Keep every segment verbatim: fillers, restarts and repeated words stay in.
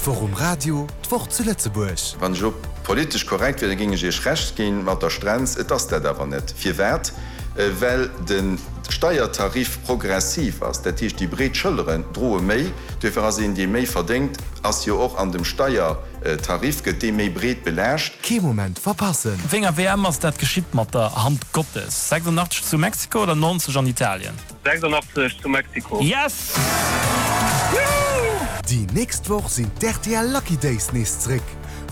D'Woch um Radio, d'Woch zu Lëtzebuerg. Wann ech politesch korrekt wier, da géing ech Iech Recht ginn mat der Strenz. Et ass dat awer net. Firwat? Well de Steiertarif progressiv ass. Dat heescht, déi breet Schëlleren droe méi. Duerfir ass een, dee méi verdéngt, ass jo och an dem Steiertarif, gëtt dee méi breet belaascht. Kee Moment verpassen! Wéi enger W M ass dat geschitt mat der Hand Gottes? sechsundachtzeg zu Mexiko oder neunzeg an Italien? sechsundachtzeg zu Mexiko. Yes! Déi nächst Woch sinn d'R T L Lucky Days nees zréck,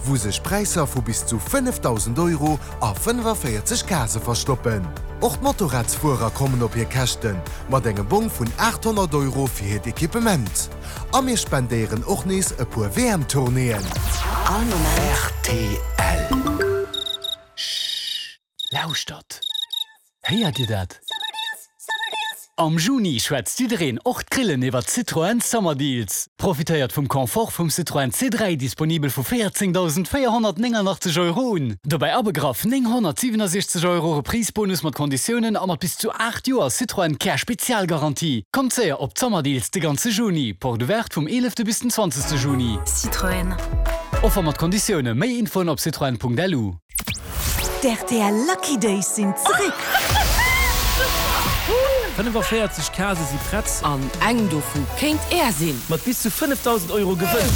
wou sech Präisser vu bis zu fënnefdausend Euro a fënnefavéierzeg Case verstoppen. Och d'Motorradsfuerer kommen op hir Käschten, mat engem Bong vun aathonnert Euro fir hiert Equipement. A mir spendéieren och nees e puer W M-Tournéeën. All Moment. R T L. Lauschtert! Héiert Dir dat? Am Juni schwätzt jiddereen, och d'Grillen, iwwer Citroën Summer Deals. Profitéiert vum Confort vum Citroën C dräi, disponibel vu véierzéngdausendvéierhonnertnénganachtzeg Euro un. Dobäi abegraff nénghonnertsiwenusechzeg Euro Reprise-Bonus mat Konditiounen a mat bis zu aacht Joer Citroën Care Spezialgarantie. Kommt séier op d'Summer Deals de ganze Juni. Porte ouverte vum eelefte bis den zwanzegste Juni. Citroën. Offer mat Konditioune. Méi Infoen op citroen Punkt L U. D R T L Lucky Days sinn zréck! fënnefavéierzeg Case si prett. An eng dovu kéint Är sinn. Mat bis zu fënnefdausend Euro Gewënn.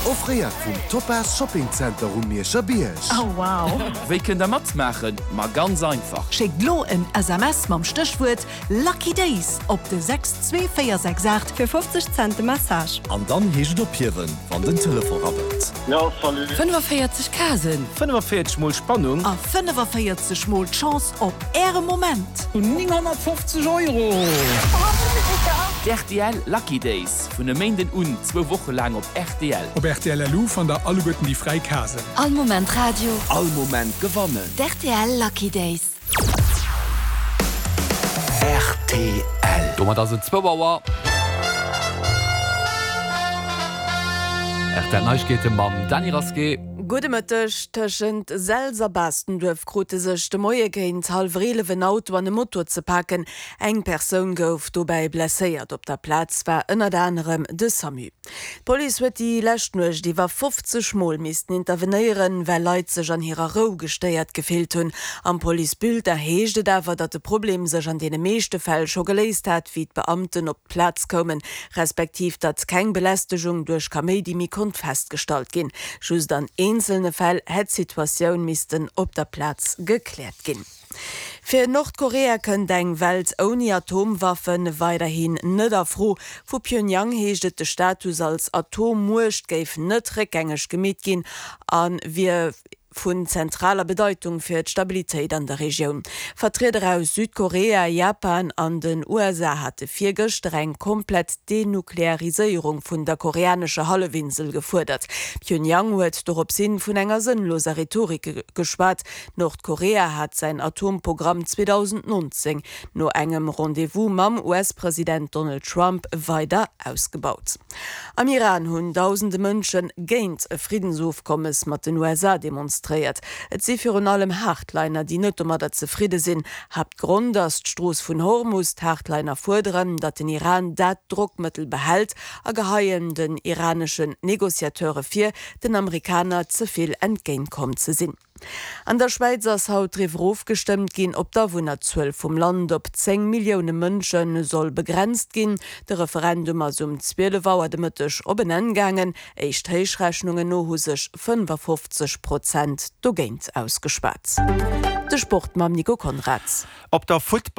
Offréiert vum Topaz Shopping Center um Mierscher Bierg. Oh wow! Wéi kënnt der matmaachen? Ma ganz einfach. Schéckt lo en S M S mam Stéchwuert Lucky Days op de sechs zwee véier sechs aacht fir fofzeg Cent de Message. An dann heescht et ophiewen, wann den Telefon rabbelt. Jo, salut. fënnefavéierzeg Casen. fënnefavéierzeg mol Spannung. A fënnefavéierzeg mol d'Chance op äre Moment. Nénghonnertfofzeg Euro! D R T L Lucky Days vun e Méinden un zwou Woche laang op R T L. Op R T L L U fannt der alleguerten déi fräi Casen. All Moment Radio. All Moment gewannen. D R T L Lucky Days. R T L. Domat ass et zwou Auer. R T L Neiegkeete mam Dany Rasqué. Gudde Mëtteg. Tëschent Selz a Baastenduerf krute sech de Moie géint hallwer eelef en Auto an e Moto ze paken. Eng Persoun gouf dobäi blesséiert. Op der Plaz war ënnert anerem de SAMU. D'Police huet déi lescht Nuecht iwwer fofzeg Mol missten intervenéieren, well Leit sech an hirer Rou gestéiert gefillt hunn. Am Police-Bulletin heescht et awer, datt de Problem sech an deene meeschte Fäll scho geléist hat, wéi d'Beamten op d'Plaz koumen, respektiv datt keng Belästegung duerch Kaméidi méi konnt festgestallt ginn. Just an eenzelne Fäll hätt d'Situatioun missten op der Plaz gekläert ginn. Fir Nordkorea kënnt eng Welt ouni Atomwaffe weiderhin net a Fro. Vu Pyongyang heescht et, de Status als Atommuecht géif net réckgängeg gemeet ginn a wier vun zentraler Bedeitung fir d'Stabilitéit an der Regioun. Vertrieder aus Südkorea, Japan an den U S A hate virgëschter eng komplett Denukleariséierung vun der koreanescher Hallefinsel gefuerdert. Pyongyang huet dorops hin vun enger sënnloser Rhetorik geschwat. Nordkorea hat säin Atomprogramm zweedausendnonzéng no engem Rendez-vous mam U S-President Donald Trump weider ausgebaut. Am Iran hunn dausende Mënsche géint e Friddensofkommes mat den U S A demonstréiert. Et si virun allem Hardliner, déi net domadder zefridde sinn. Haaptgrond ass d'Strooss vun Hormus. D'Hardliner fuerderen, datt den Iran dat Drockmëttel behält a geheien den iraneschen Negociateure vir, den Amerikaner ze vill entgéintkomm ze sinn. An der Schwäiz ass haut driwwer ofgestëmmt ginn, ob d'Awunnerzuel vum Land op zéng Millioune Mënsche soll begrenzt ginn. De Referendum ass um zwielef Auer de Mëtteg op en Enn gaangen. Éischt Héichrechnungen no hu sech fënnefafofzeg Prozent dogéint ausgeschwat. De Sport mam Nico Conrads. Op der Futtball